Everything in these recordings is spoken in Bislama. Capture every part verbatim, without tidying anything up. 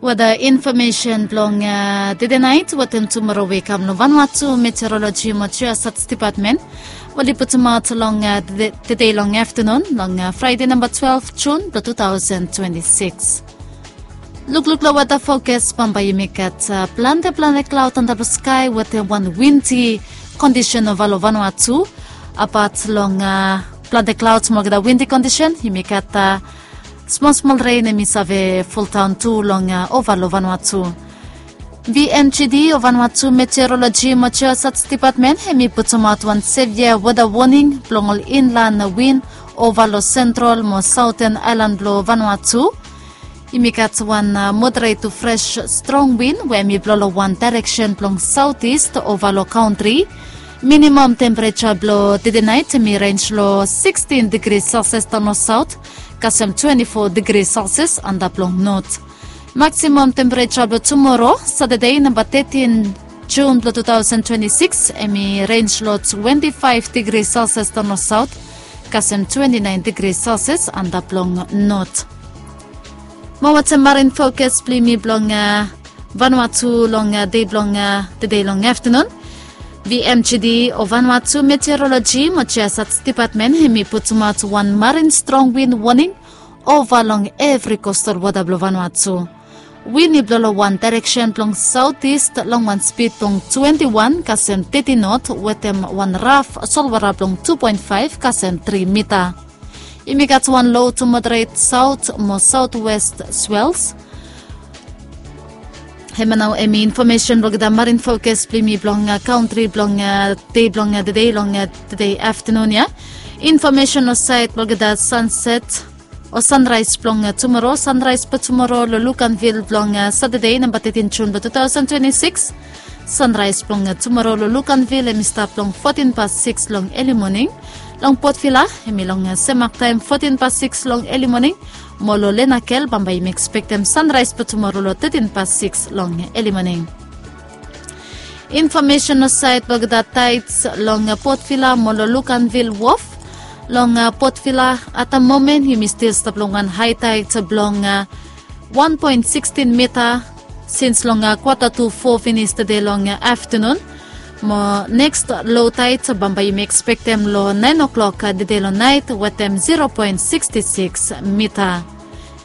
Weda infomesen blong tede nait wetem tumoro we i kam long Vanuatu Meteoroloji mo Geosat Depatmen, we oli putumaot long tede longaftanun long Fraede namba twelef Jun blong tu taosen twenti sikis. Lukluk long weda fokas, bambae yumi gat plante plante klaod antap long skae wetem wan windi kondisen ova long Vanuatu. Apat long plante klaod mo olgeta windi kondisen, yumi gat smol smol ren hemi save foldaon tu long ova long Vanuatu. VMGD o Vanuatu Meteoroloji mo Geosat Depatmen hemi putumaot wan sevia weda woning blong ol inlan win ova long sentral mo saoten aelan blong Vanuatu. Yumi gat wan moderet tu fres strong win we hemi blong long wan daereksen blong saotis ova long kantri. Minimam tempereja blong tede nait hemi rens long sikstin digri selsias daon long saot, kasem twenti fo digri selsias antap long not. Maksimam tempereja blong tumoro Satade namba tetin Jun blong tu taosen twenti sikis hemi rens long twenti faef digri selsias daon long saot, kasem twenti naen digri selsias antap long not. Mo wetem marin fokas blong yumi blong Vanuatu long dei blong tede longaftanun. VMGD o Vanuatu Meteoroloji mo Geosat Depatmen hemi putumaot wan marin strong win woning ova long evri kostal wota blong Vanuatu. Win i blong long wan daereksen blong saotis long wan spid blong twenti wan kasem teti not wetem wan raf solwara blong tu poen faef kasem tri mita. Yumi gat wan lo tu moderet saot mo saotwes swels. Hemia nao hemi infomesen blong olgeta marin fokas blong yumi blong kantri blong dei blong tede long tede aftanun ya. Infomesen long saed blong olgeta sanset o sanraes blong tumoro. Sanraes blong tumoro long Luganville blong Satade namba tetin Jun blong tu taosen twenti sikis. Sanraes blong tumoro long Luganville hemi stap long fotin pas sikis long eli moning. Long Port Vila hemi long semak taem fotin pas sikis long eli moning. Mo long Lenakel bambae yumi ekspektem sanraes blong tumoro long tetin pas sikis long eli moning. Infomesen long saed blong olgeta taets long Port Vila mo long Luganville Wof. Long Port Vila at da momen yumi stil stap long wan hae taet blong wan poen sikstin mita sins long kwata tu fo finis tede long aftanun. Mo neks lo taet bambae yumi ekspektem long naen oklok tede long naet wetem zero poen siksti sikis mita.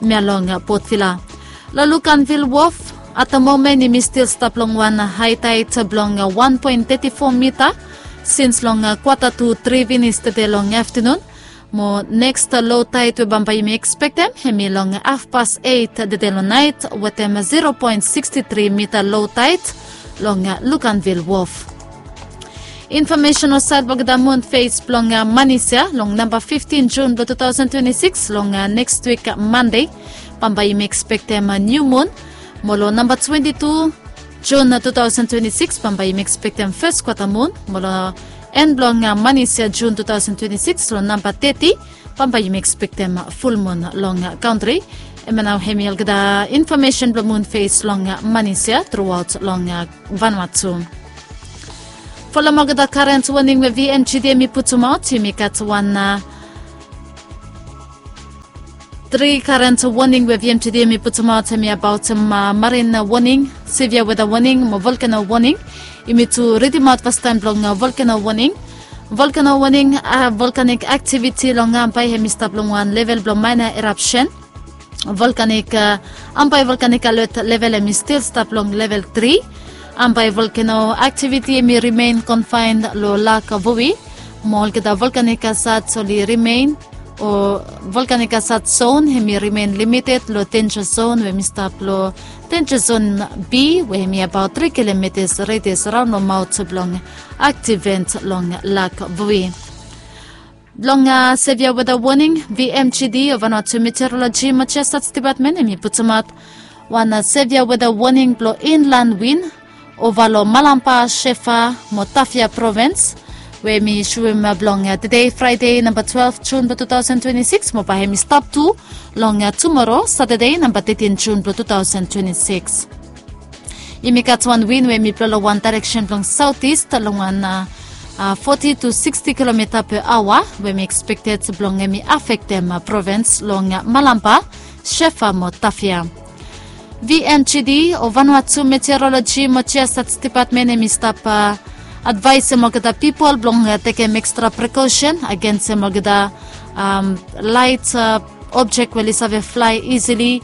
Hemia long Port Vila. Long Luganville Wof at da momen yumi stil stap long wan hae taet blong wan poen teti fo mita sins long kwata tu tri finis tede long aftanun. Mo neks lo taet we bambae yumi ekspektem hemi long hafpas eit tede long naet wetem zero poen siksti tri mita lo taet long Luganville Wof. Infomesen long saed blong olgeta mun fes blong manis ya long namba fiftin Jun blong tu taosen twenti sikis long neks wik Mande. Bambae yumi ekspektem niu mun. Mo long namba twenti tu Jun tu taosen twenti sikis bambae yumi ekspektem fes kwata mun. Mo long en blong manis ya Jun tu taosen twenti sikis long namba teti bambae yumi ekspektem fulmun long kantri. Hemia nao hemi olgeta infomesen blong mun fes long manis ya truaot long Vanuatu. Folem olgeta karen woning we VMGD hemi putumaot, yumi gat wan tri karen woning we VMGD hemi putumaot, hemi abaotem marin woning, sevia weda woning mo volkeno woning. Yumi tu ridimaot fastaem blong volkeno woning. Volkeno woning, volkanik aktiviti long Ambae hemi stap long wan level blong maena erapsen. Volkanik, Ambae volkanik alet level hemi stil stap long level tri. Ambae volkeno aktiviti hemi rimen konfaen long Lak Vui. Mo olgeta volkanik asat oli rimen, o volkanik asat zon hemi rimen limited long denja zon we hemi stap long denja zon B we hemi abaot tri kilometas redias raon long maot blong aktiv vent long Lak Vui. Blong sevia weda woning, VMGD o Vanuatu Meteoroloji mo Geosat Depatmen hemi putumaot wan sevia weda woning blong inlan win ova long Malampa, Shefa mo Tafea provens, we hemi suem blong tede Fraede namba twelef Jun blong tu taosen twenti sikis mo bae hemi stap tu long tumoro Satade namba tetin Jun blong tu taosen twenti sikis. Yumi gat wan win we hemi blong long wan daereksen blong saotis long wan foti tu siksti kilomita pe aoa we hemi ekspekted blong hemi afektem provens long Malampa, Shefa mo Tafea. V M G D o Vanuatu Meteorologi mo Geostats Depatmen hem i stap advaesem olgeta pipol blong tekem ekstra prekosen agensem olgeta laet objek we oli save flae isili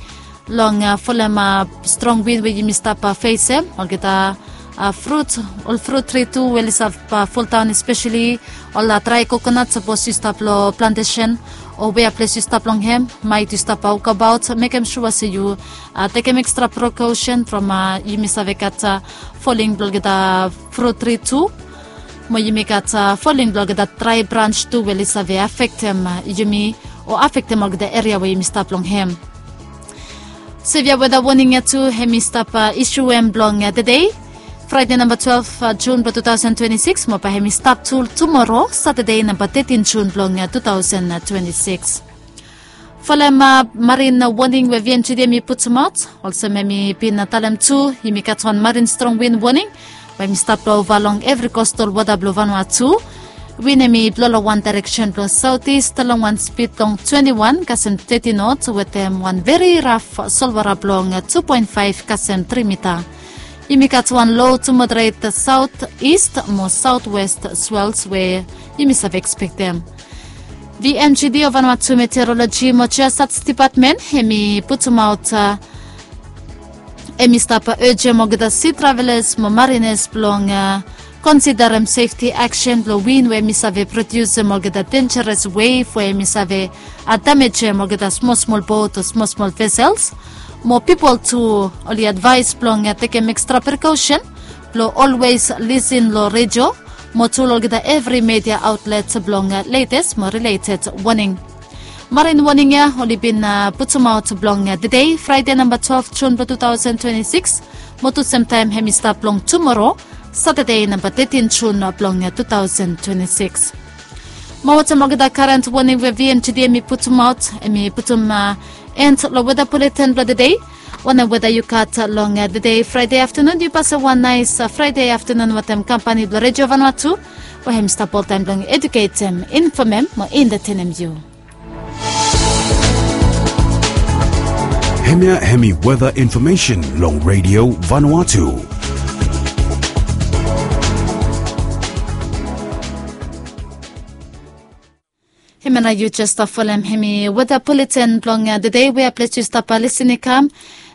long folem strong win we yumi stap fesem. Olgeta frut, ol frut tri tu we oli stap foldaon, espeseli ol drae kokonat sapos yu stap long plantesen o wea ples yu stap long hem, maet yu stap wokabaot, mekem sua se yu tekem ekstra prekosen from yumi save gat foling blong olgeta frut tri tu. Mo yumi gat foling blong olgeta drae brans tu we oli save afektem yumi o afektem olgeta eria we yumi stap long hem. Sevia weda woning ya tu hem i stap isuem blong tedei, Fraede namba twelef Jun blong tu taosen twenti sikis, mo bae hem i stap tu tumoro, Satade namba tetin Jun blong tu taosen twenti sikis. Folem marin woning we V M G D hem i putumaot, olsem hem i bin talem tu, yumi gat wan marin strong win woning we hem i stap blong ova long evri kostal wota blong Vanuatu. Win hem i blo long wan daereksen blong saotis long wan spid blong twenti wan kasem teti not wetem wan veri raf solwara blong tu poen faef kasem tri mita. Yumi gat wan lo tu moderet saotis mo saotwes swels we yumi save ekspektem. V M G D o Vanuatu Meteorologi mo Geostats Depatmen hem i putumaot hem i stap ejem olgeta si travelas mo marinas blong konsiderem sefti aksen blong win we hem i save prodiusem olgeta denjeres wef we hem i save damejem olgeta smol smol bot o smol smol vesels. Mo pipol tu oli advaes blong tekem ekstra prekosen blong olwes lisin long redio mo tu long olgeta evri media aotlet blong letes mo rileted woning. Marin woning ya oli bin putumaot blong tedei, Fraede namba twelef Jun blong tu taosen twenti sikis, mo tu semtaem hem i stap long tumoro, Satade namba tetin Jun blong tu taosen twenti sikis. Mo wetem olgeta karen woning we V M G D hem i putumaot, hem i putum en long weda buleten blong tedei. Wanem weda yu gat long tedei, Fraede aftanun? Yu pasem wan naes Fraede aftanun wetem kampani blong Redio Vanuatu we hem i stap oltaem blong eduketem, infomem mo entetenem yu. Hemia hemi weda infomesen long Redio Vanuatu. Hemia nao yu jes stap folem hemi weda buleten blong tedei, wea ples yu stap lisin i kam.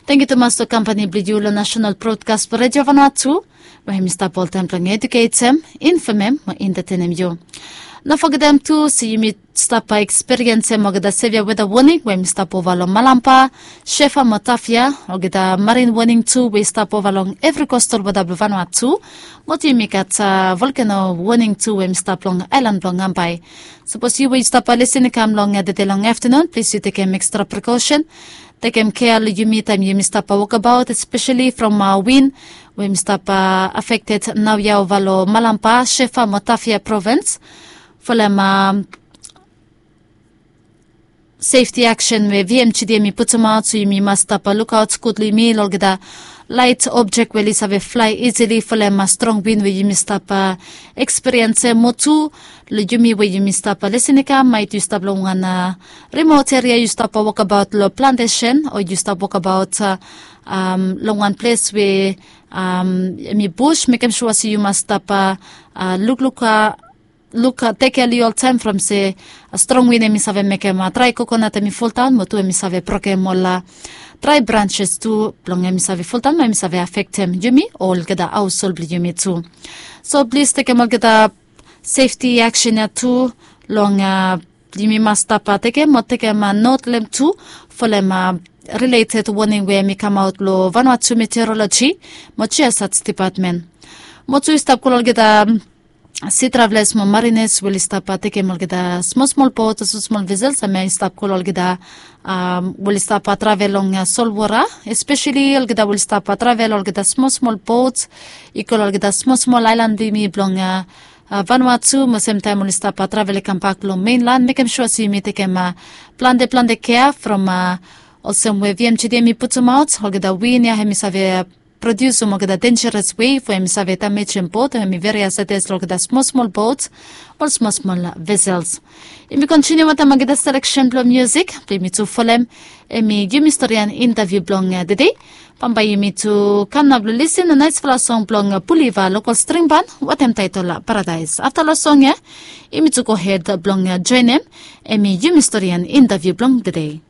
Tangkiu tumas long kampani blong yu long Nasenal Brodkas blong Redio Vanuatu we hemi stap oltaem blong eduketem, infomem mo entetenem yu. No fogetem tu se yumi stap ekspiriensem olgeta sevia weda woning we hemi stap ova long Malampa, Sefa mo Tafia. Olgeta marin woning tu we i stap ova long evri kostal wota blong Vanuatu. Mo tu yumi gat volkeno woning tu we hemi stap long aelan blong Ambae. Sapos yu we yu stap lisin i kam long tede long aftanun, plis yu tekem ekstra prekosen. Tekem kea long yumi taem yumi stap wokabaot, espeseli from win we hemi stap afekted naoia ova long Malampa, Sefa mo Tafia provens. Folem sefti aksen we V M G D hem i putumaot, so yumi mas stap lukaot gud long yumi long olgeta laet objek we oli save flae isili folem strong win we yumi stap ekspiriensem. Mo tu long yumi we yumi stap lisin i kam, maet yu stap long wan rimot eria, yu stap wokabaot long plantesen o yu stap wokabaot long wan ples we hem i bus, mekem sua se yu mas stap lukluk luk, tekem kea long yu oltaem from se strong win hem i save mekem drae kokonat hem i foldaon, mo tu hem i save brokem ol drae branses tu blong hem i save foldaon mo hem i save afektem yumi o olgeta haoshol blong yumi tu. So plis tekem olgeta sefti aksen ya tu long yumi mas stap tekem mo tekem not long hem tu folem rileted woning we hem i kamaot long Vanuatu Meteorologi mo Geostats Depatmen. Mo tu yu stap kol olgeta si travelas mo marines we oli stap tekem olgeta smol smol bot o smol smol vesels, hemia i stap kol olgeta we oli stap travel long solwota, espeseli olgeta we oli stap travel olgeta smol smol bot i go long olgeta smol smol aelan blong yumi blong Vanuatu, mo semtaem oli stap travel i kambak long menlan, mekem sua se yumi tekem plante plante kea from olsem we V M G D hem i putumaot, olgeta win ya hem i save Produs olgeta denjeres wei fo em i save damejim bot o em i veri asetes long olgeta smol smol bot, ol smol smol vesels. Yumi kontiniu wantaim olgeta seleksen blong musik blong yumi tu folem, em i yumi storian intaviu blong tede. Bambae yumi tu kam nao blong lisin long naisfala song blong puliva lokal stringban, wantaim taetol paradaes afta long song ya, yumi tu gohed blong joenem, em i yumi storian intaviu blong tede.